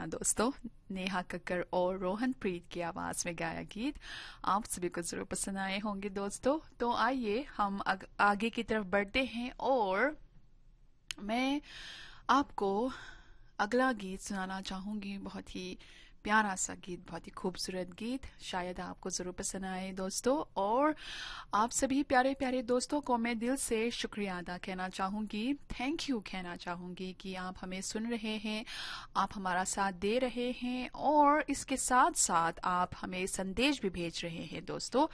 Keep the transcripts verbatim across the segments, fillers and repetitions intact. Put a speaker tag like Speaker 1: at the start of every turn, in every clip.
Speaker 1: गाना दोस्तों। नेहा कक्कर और रोहन प्रीत की आवाज में गाया गीत आप सभी को जरूर पसंद आए होंगे दोस्तों। तो आइए हम आग, आगे की तरफ बढ़ते हैं और मैं आपको अगला गीत सुनाना चाहूंगी। बहुत ही प्यारा सा गीत, बहुत ही खूबसूरत गीत, शायद आपको जरूर पसंद आए दोस्तों। और आप सभी प्यारे प्यारे दोस्तों को मैं दिल से शुक्रिया अदा कहना चाहूंगी, thank you कहना चाहूंगी कि आप हमें सुन रहे हैं, आप हमारा साथ दे रहे हैं और इसके साथ साथ आप हमें संदेश भी भेज रहे हैं दोस्तों,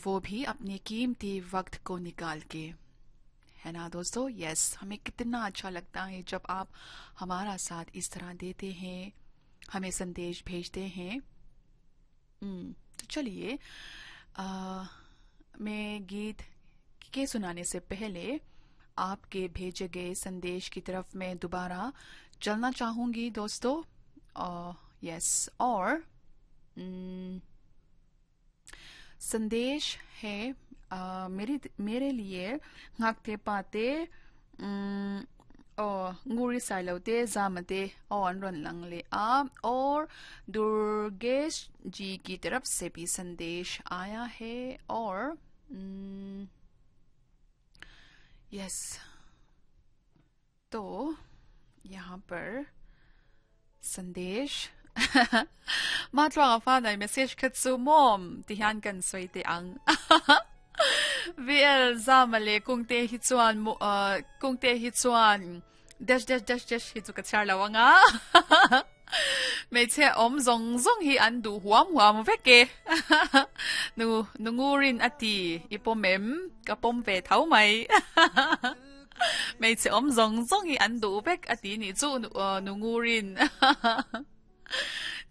Speaker 1: वो भी अपने कीमती वक्त को निकाल के, है ना दोस्तों। यस, हमें कितना अच्छा लगता है जब आप हमारा साथ इस तरह देते हैं, हमें संदेश भेजते हैं। तो चलिए, मैं गीत के सुनाने से पहले आपके भेजे गए संदेश की तरफ मैं दोबारा चलना चाहूंगी दोस्तों। यस, और संदेश है आ, मेरी मेरे लिए ngakte pate ओ nguri sailote zamate और रन लंगले आ। और दुर्गेश जी की तरफ से भी संदेश आया है और यस, तो यहाँ पर संदेश ma tluanga fa nai message khat chu mom ti hian kan soi te ang V L zamale kungte hi chuan kungte hi chuan dash dash dash dash hi chu ka char lawanga me che om zong zong hi an du huam huam veke nu nu ngurin ati ipomem ka pom ve thau mai me che om zong zong hi an du vek ati ni chu nu ngurin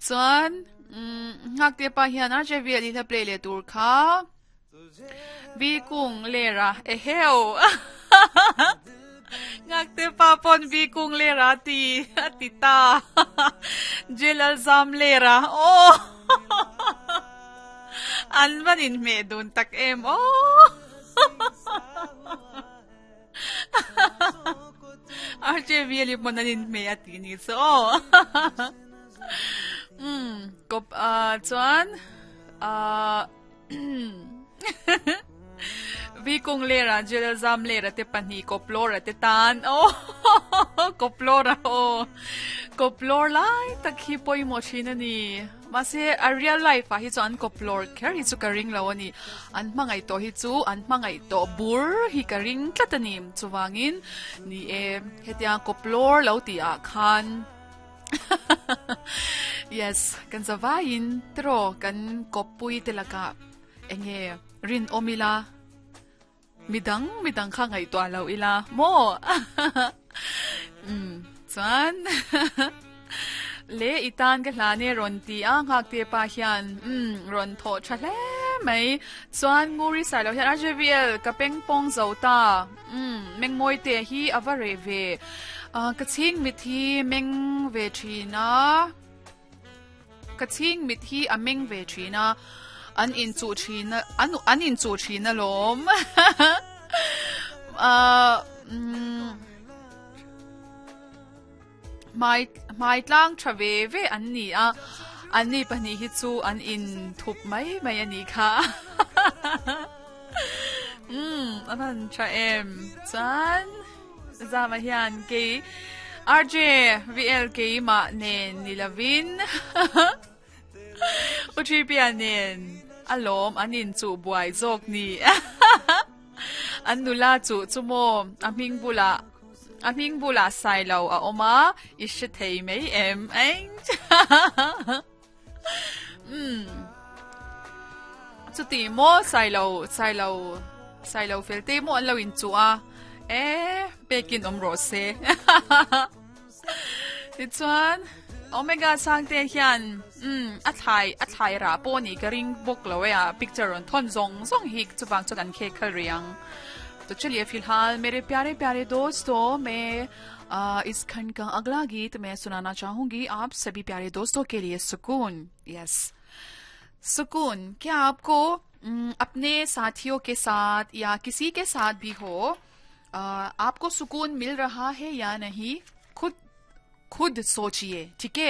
Speaker 1: chuan ngak te pa hian a je V L hi play le tur kha vi kung lera e heo ngak te pa pon vi kung lera ti ti ta jelal zam lera o an vanin me dun tak em o R J V L monanin me ati ni so um kop a chuan a vi kung lera jelal zam lera te pani koplora te tan o koplora o koplor lai takhi poi mo thina ni ma se a real life a hi chu an koplor kher hi chu ka ring lo ani an mangai to hi chu an mangai to bur hi ka ring tlatani chuwangin ni e hetia koplor lo ti a khan yes kan zawain tro kan kopui telaka enge rin omila midang midang kha ngai to lo ila mo um chuan le itan ka hlane ron ti a ngak te pa hian um ron tho tha hle mai chuan nguri sai lo hian R J V L ka peng pong zo ta um meng moi te hi aware ve ka ching mit hi meng ve thina ka ching mit hi a meng ve thina an in chu thina an an in chu thina lom a mai mai tlang thave ve an ni a an ni pani hi chu an in thup mai mai ani kha um aman cha em chan zama hian ke R J V L ke ma nen nilavin Utripia nen alom anin chu buai jok ni an nula chu chumo aming bula aming bula sai lo a oma i shi thei mei em eng um chu ti mo sai lo sai lo sai lo fel te mo an lo in chu a e pekin om ro se ti chuan Omega sang te hian um a thai a thai ra po ni ka ring bok lo ya picture on thon zong zong hi chuwang chu kan khe khal riang। तो चलिए फिलहाल मेरे प्यारे प्यारे दोस्तों, मैं आ, इस खंड का अगला गीत मैं सुनाना चाहूंगी आप सभी प्यारे दोस्तों के लिए। सुकून, यस सुकून। क्या आपको अपने साथियों के साथ या किसी के साथ भी हो, आ, आपको सुकून मिल रहा है या नहीं, खुद खुद सोचिए, ठीक है।